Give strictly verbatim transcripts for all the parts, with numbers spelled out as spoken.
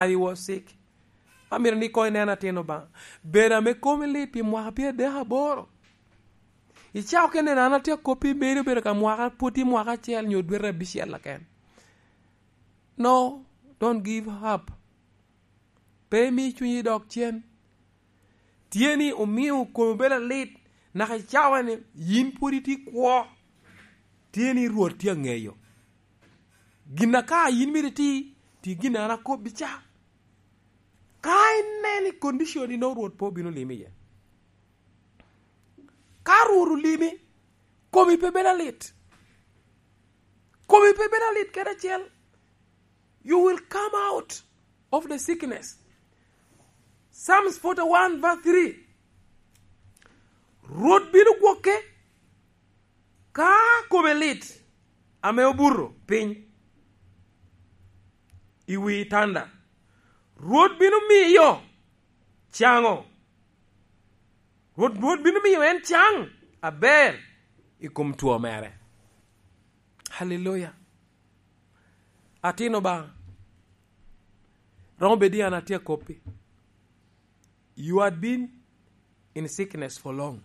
I was sick. Amito ni koŋ inen atin Obaŋa. Bedo ame komi lit pi mwaka pyeradek aboro. I cawa okene an atye akoppi, medo bedo ka mwaka, pwod tye mwaka acel nyo dwete abicel aken. No, don't give up. Pe imi cunyi dok cen. Tye ni omio komi bedo alit, naka i cawa ni yin pwod itye kwo. Tye ni Rwot tye aŋeyo. Gin a ka yin myero iti, ti gin an akobbi ca. Ka ineno i condition ino, Rwot pe obino limi iye. Ka Rwot olimi, komi pe bedo alit. Komi pe bedo alit kede acel. You will come out of the sickness. Psalms forty-one verse three. Rwot bino gwokke ka kome lit ame obuto piny i wi tanda. Rwot bino miyo caŋo. Rwot, Rwot bino miyo en caŋ aber i kom two mere. Haleluya. Atin Obaŋa, romo bedo ni an atye akoppi. You had been in sickness for long.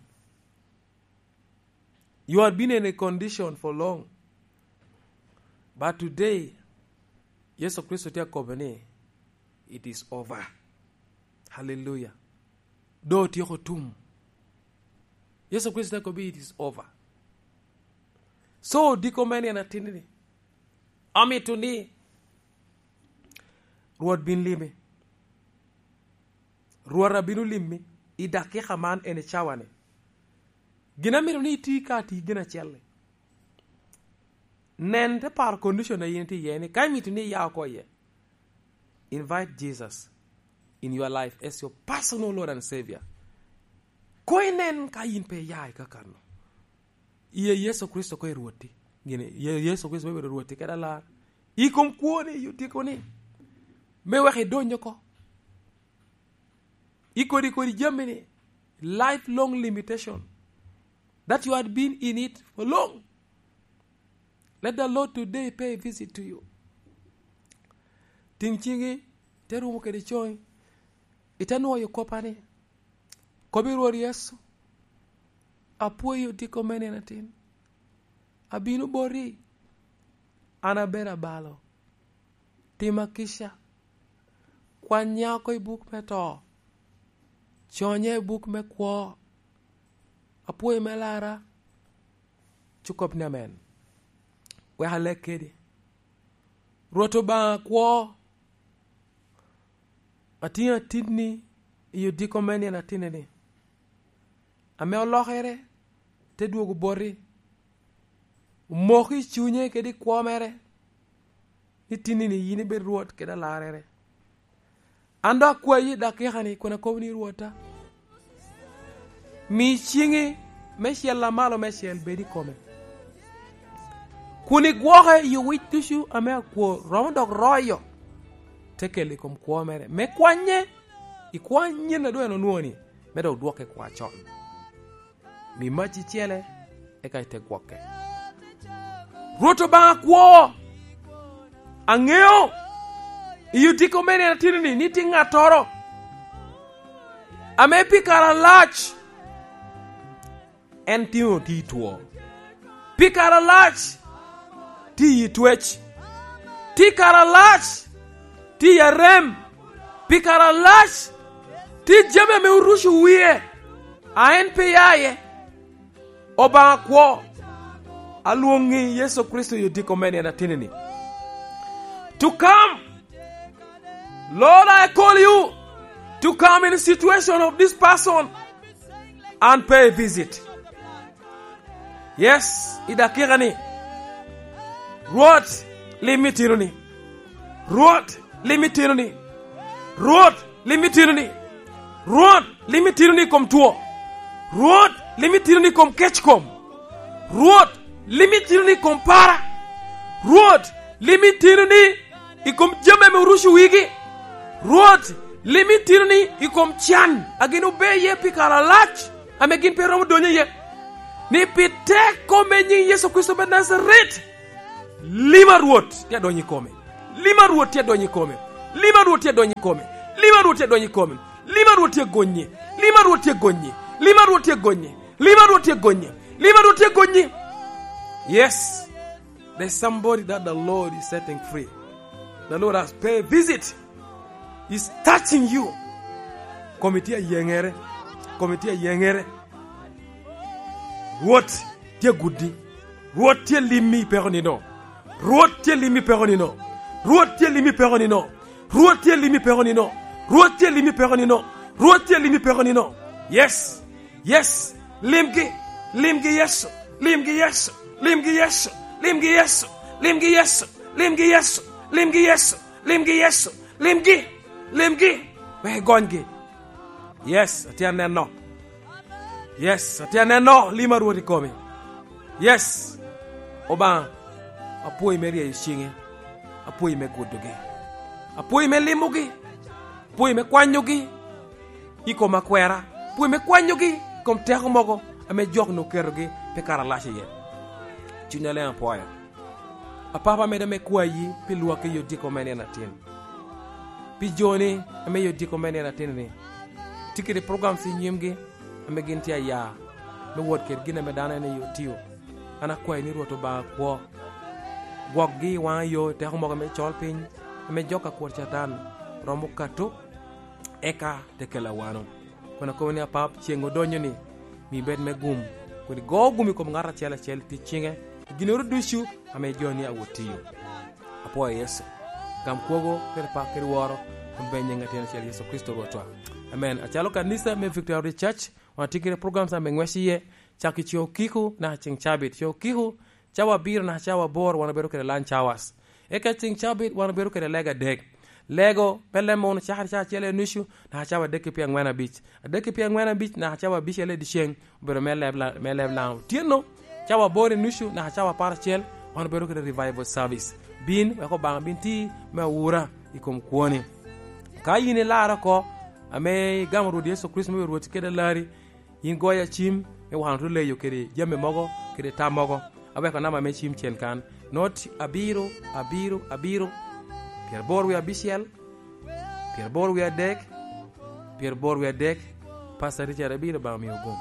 You had been in a condition for long. But today, Yecu Kricito tye akobo ni, "It is over." Haleluya. Doŋ otyeko tum. Yecu Kricito tye akobo, "It is over." So, diko me nino atin-ni, amito ni Rwot bin limi. Rwot abino limi i dakika man, en i cawa-ni. Gin amito ni iti ka ati gin acel-li. Nen te paro condition a yin itye iye ni, ka imito ni iya oko iye, invite Jesus in your life as your personal Lord and Savior. Koŋ inen ka yin pe iya i kakano. Iye Yecu Kricito koŋ i Rwotti. Gini, Ye-, Yecu Kricito me bedo Rwotti kede Alar. I kom kwoni, i otyeko-ni. Me wek idony oko i kodi kodi jami-ni. Lifelong limitation that you had been in it for long. Let the Lord today pay a visit to you. Tiŋ ciŋi, ite rumo kede coŋi, ite nwoyo koppa-ni, "Kobi Rwot Yecu, apwoyo diko me nino atin. Abino boti, an abedo abalo. Tima kica, kwanya oko i buk me to, conya i buk me kwo. Apwoyo me lara, cu kop ni amen. Wek alek kedi." Rwot Obaŋa kwo, atiŋ atinni i odiko me nino atinni-ni, ame olokere te dwogo boti, omoko i cunye kede i kwo mere, ni tinni-ni yin ibed Rwot kede Alarrere. An dok akwayi i dakika-ni kun akobo ni, "Rwotta, mi ciŋi me cella malo meicel bed i kome, kun igwoke i owic ducu ame akwo romo dok royo, te kelo i kom kwo mere, me kwanye i kwo anyen a doŋ en onwoŋo-ni, me dok dwoke i kwo acon." Mi mac icele, eka ite gwokke. Rwot Obaŋa kwo, aŋeo i odiko me nino atinni ni tye ŋattoro ame pi kare alac en tye onwoŋo tye i two. Pi kare alac tye i twec. Tye kare alac tye i arem. Pi kare alac tye jami ame oruco wie, a en pe ya iye. Obaŋa kwo, alwoŋi Yecu Kricito i odiko me nino atinni to come. Lord, I call you to come in situation of this person and pay a visit. Yes, i dakika-ni, Rwot, lim itinoni. Rwot, lim itinoni. Rwot, lim itinoni. Rwot, lim itinoni i kom two. Rwot, lim itinoni i kom kec kom. Rwot, lim itinoni i kom para. Rwot, lim itinoni i kom jami ame oruco wigi. Rwot, lim itinoni i kom can a gin obe iye pi kare alac ame gin pe romo donyo iye. Ni pi teko me nyiŋ Yecu Kricito me Najaret, lima Rwot tye adonyo i kome. Lima Rwot tye adonyo i kome. Lima Rwot tye donyo i kome. Lima Rwot tye donyo i kome. Lima Rwot tye gonye. Lima Rwot tye gonye. Lima Rwot tye gonye. Lima Rwot tye gonye. Lima Rwot tye gonye. Yes. There's somebody that the Lord is setting free. The Lord has paid a visit. He's touching you. Komi tye ayeŋere. Komi tye ayeŋere. Rwot tye gudi. Rwot tye limmi i peko nino. Rwot tye limmi i peko nino. Rwot tye limmi i peko nino. Rwot tye limmi i peko nino. Rwot tye limmi i peko nino. Rwot tye limmi i peko nino. Yes. Yes. Limgi. Limgi Yecu. Limgi Yecu. Limgi Yecu. Limgi Yecu. Limgi Yecu. Limgi Yecu. Limgi Yecu. Limgi Yecu. Limgi. Limgi. Wek igonygi. Yes, atye aneno. Yes, atye aneno lima Rwot i komi. Yes, Obaŋa, apwoyi me ryeyo ciŋe, apwoyi me gudogi, apwoyi me limogi, apwoyi me kwanyogi i kom akwera, apwoyi me kwanyogi i kom teko mogo ame jok-ni oketogi pi kare alac iye. Cunya leŋ apwoyo. Apapa, amedde me kwayi pi lwak i odiko me nino atin. Pi joni ame i odiko me nino atin-ni tye kede program i nyimgi ame gin tye aya me wot kede gin ame dano en aye otio. An akwayi ni Rwot Obaŋa kwo, gwokgi i waŋa yo i teko mogo ame col piny, ame jok a kwor Catan romo kato, eka te kela wano. Kun akobo ni, Apap, ceŋ odonyo-ni, mi bed me gum, kun igo gum i kom ŋat acel acel tic ciŋe i ginnoro ducu ame joni awot tiyo. Apwoyo Yecu. Gam kwogo kede pak kede woro, kun bed nyeŋ Atyen acel Yecu Kricito Rwotwa. Amen. Acalo kanisa me Victory Church, wan atye kede programs ame ŋwec iye, cak i ceŋ okiko naka ceŋ cabit. Ceŋ okiko, cawa abiro naka cawa aboro, wan obedo kede lunch hours. Eka ceŋ cabit, wan obedo kede lego adek. Lego me lemo wunu cakere cawa acel i nucu naka cawa adek ki pyeŋ ŋwen abic. Adek ki pyeŋ ŋwen abic naka cawa abicel i dyeceŋ obedo me leb la-, me leb Laŋo. Otyeno, cawa aboro i nucu naka cawa apar acel, wan obedo kede revival service. Bin, wek Obaŋa bin ti me awura i kom kwoni. Ka yin ilarre oko, ame igamo Rwot Yecu Kricito me bedo Rwoti kede Alarri, yin goyo acim me wano tuleyo kede jami mogo kede tam mogo. Aweko namba me cim cen kan. Not abiro, abiro, abiro, pyeraboro wie abicel, pyeraboro wie adek, pyeraboro wie adek. Pastor Richard abiro, Obaŋa miyo gum.